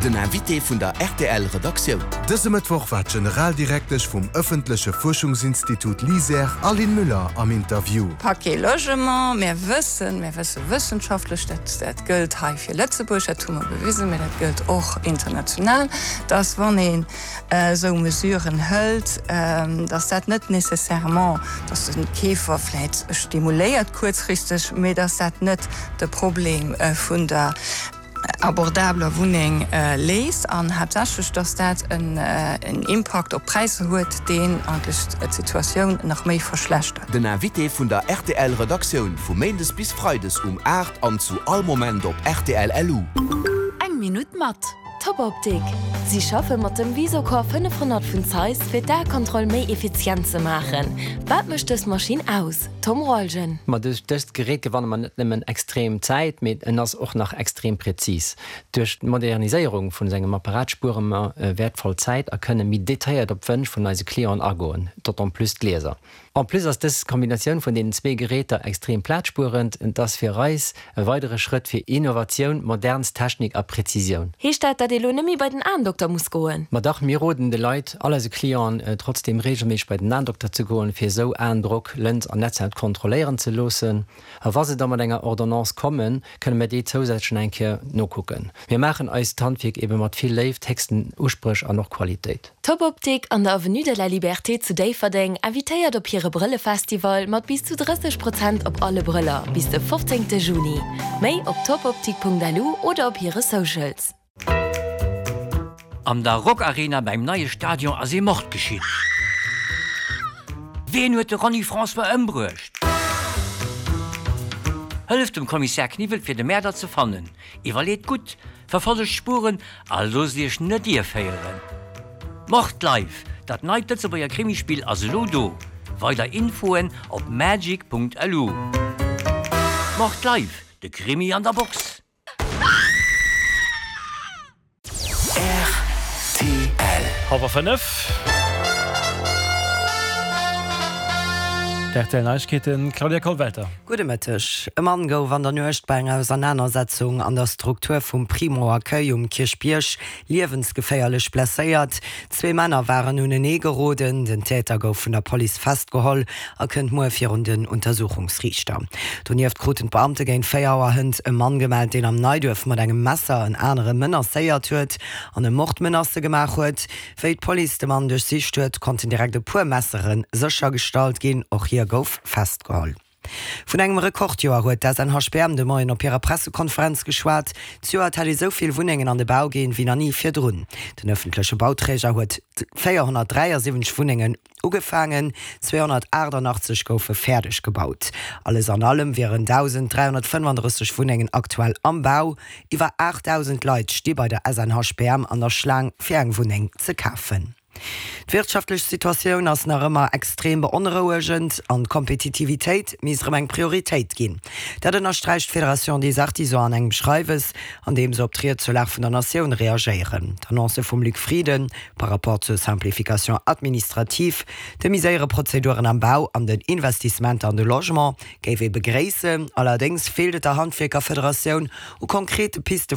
Den Invité vun der rtl Redaktioun. Dëse Mëttwoch war d'Generaldirektesch vum ëffentleche Fuerschungsinstitut LISER, Aline Müller, am Interview. Paquet Logement, Mir wëssen, mir wësse wëssenschaftlech, dat dat gëllt hei fir Lëtzebuerg, dat hu mer bewisen, mä dat gëllt och international, dass wann een esou Mesuren hëlt, dass dat net nécessairement, dass de Keefer vläit stimuléiert kuerzfristeg, mä dass dat net de Problem vun der abordabeler Wunneng léist an haaptsächlech, dass dat en Impakt op d'Präisser huet, deen eigentlech d'Situatioun nach méi verschlechtert. Den Invité vun der rtl Redaktioun vu Méindes bis Freides um 8 an zu all Moment op rtl LU. Eng Minutt mat Top Optik! Si schaffe mat dem Visocor 500 vun Zeiss fir d'Aekontroll méi effizient ze maachen. Wat mécht dës Maschinn aus? Tom Rolgen. Ma duerch dëst Gerät gewanne mer net nëmmen extrem Zäit, mee en ass och nach extrem präzis. Duerch d'Moderniséierung vun sengem Apparat spuere mer wäertvoll Zäit a kënne méi detailléiert op d'Wënsch vun eise Clienten agoen, d'autant plus d'Lieser. En plus ass dës Kombinatioun vun deenen zwee Geräter extrem plazspuerend. Et ass fir eis e weidere Schrëtt fir Innovatioun, modernst Technik a Präzisioun. Heescht dat, dat ee lo nemmi bei den Aendokter muss goen? Ma dach, mir roden de Leit, all eise Clienten, trotzdem regelméisseg bei den Aendokter ze goen, fir esou Aendrock, Lëns an Netzhaut kontrolléieren ze loossen. A wa se da mat enger Ordonnance kommen, kënne mir déi zousätzlech nach eng Kéier nokucken. Mir maachen eist Handwierk ebe mat vill Léift, héchsten Uspréch an och Qualitéit. D'Topoptik an der Avenue de la Liberté zu Déifferdeng invitéiert op hire Brëllefestival mat bis zu 30 Prozent op alle Brëller bis de 15 Juni. Méi op topoptik.lu oder op hire Socials. An der Rockarena beim neie Stadion ass ee Mord geschitt. Ween huet de Ronny François ëmbruecht? Hëlleft dem Kommissär Kniwwel fir de Mäerder ze fannen. Iwwerleet gutt, verfollegt d'Spuren a loosst iech net ierféieren. Mord Live, dat neit Lëtzebuerger Krimispill ass elo do! Weider Infoen op magic.lu. Mord Live, de Krimi an der Box! Rtl. Hallwer 5. D'RTL Neiegkeeten, Claudia Kollwelter. Gudde Mëtteg. E Mann gouf an der Nuecht bei enger Ausernanersetzung an der Struktur vum Primo Accueil um Kierchbierg liewensgeféierlech blesséiert. Zwee Männer waren unenee geroden. Den Täter gouf vun der Police festgeholl a kënnt muer virun den Untersuchungsriichter. Donieft kruten d'Beamte géint 4 Auer hënt e Mann gemellt, deen am Neiduerf mat engem Messer en anere menacéiert huet an e Mordmenacë gemaach huet. Wéi d'Police de Mann duerchsicht huet, konnten direkt e puer Messere séchergestallt ginn. Och hie gouf festgeholl. Vun engem Rekordjoer huet d'SNHBM de Moien op hirer Pressekonferenz geschwat. Zejoert hätt ee sou vill Wunnengen an de Bau ginn, wéi nach ni virdrun. Den ëffentleche Bauträger huet 473 Wunnengen ugefaangen, 288 goufe fäerdeg gebaut. Alles an allem wieren 1.335 Wunnengen aktuell am Bau. Iwwer 8.000 Leit sti bei der SNHBM an der Schlaang, fir eng Wunneng ze kafen. D'wirtschaftlech Situatioun ass nach ëmmer extrem beonrouegend an d'Kompetitivitéit misst erëm eng Prioritéit ginn. Dat ënnersträicht d'Fédération des Artisans an engem Schreiwes, an deem se op d'Ried zur Lag vun der Natioun reagéieren. D'Annonce vum Luc Frieden par rapport zur Simplification administrative, de méi séiere Prozeduren am Bau an den Investissementer an de Logement géif ee begréissen. Allerdéngs feelt et der Handwierkerfederatioun u konkrete Piste.